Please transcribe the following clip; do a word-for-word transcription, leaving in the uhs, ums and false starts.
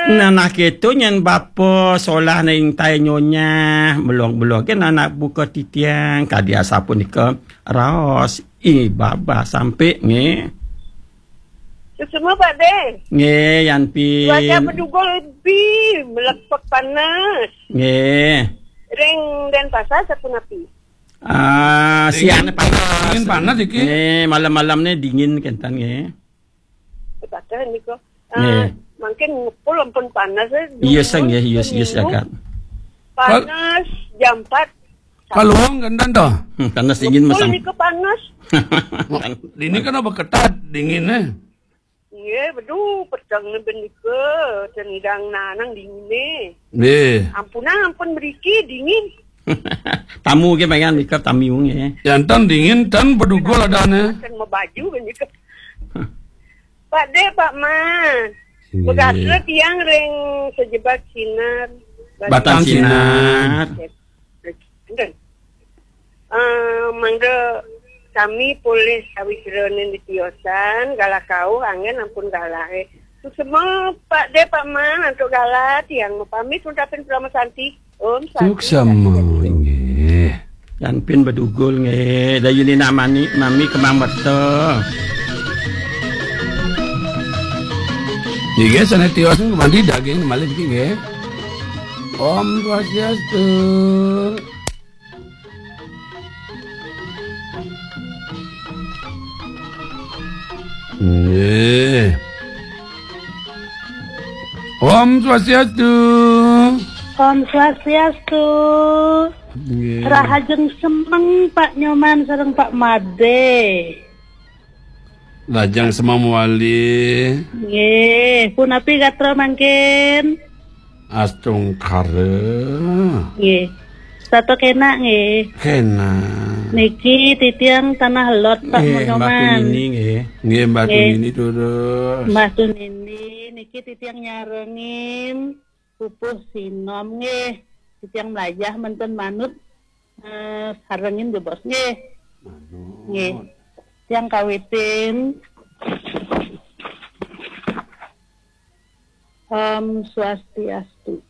Nah, nah, gitu nyen bapa solah ning tai nyonya, melong-melong ke anak buka titiang, kadi asapunika raos, i babah sampe nggih. Semua Pak De. Nggih, yan pi. Cuaca Bedugul lebih melepek panas. Nggih. Ring Denpasar sapunapi? Ah, siang panas. Dingin panas iki. Nggih, malam-malam ni dingin kenten nggih. Padahal niku, ah, nggih, mungkin ngepul ampun panas, eh, iya, dulu sang, ya, iya, iya, seminggu. Panas, jam empat. Kalau wong kenten to? Hmm, panas dingin. Ngepul masang niku panas. Dini kan apa ketat dingin, eh? Iya, bedu, peteng ni benika, tendang nanang dingin, eh. Nggih. Ampunang, ampun beriki dingin. Tamu ke pengen mikir tamu nggih. Jantan dingin tan Bedugul adane. Kan mau baju benika. Pak De, Pak Ma. Nggih. Begatra tiang ring sejebat sinar. Batang sinar. Enten. Eh, mangda sami polih sawitraning di tiosan, galah kauh anggen ampun galahe. Suksema Pak De, Pak Ma, antuk galah tiang mapamit nuntapin Parama Santi. Om Santi. Suksema, inggih. Yan pin Bedugul nggih, dayunina mani, mami kemang beto. Nggih, sane tios mandi daging malih niki nggih. Om Swastiastu. Nggih. Om Swastiastu. Om Swastiastu. Nggih. Rahajeng semeng Pak Nyoman sareng Pak Made. Lajeng semeng mawali. Nggih, punapi gatra mangkin? Astungkara. Nggih. Setata kenak nggih. Kenak. Niki titiang Tanah Lot, Pak Nyoman. Nggih, Mbah Tunini nggih. Nggih, Mbah Tunini terus. Mbah Tunini niki titiang nyarengin pupuh sinom nggih. Titiang melajah menten manut, eh, sarengin jebos nggih. Manut. Nggih. Tiang kawitin. Om Swastiastu.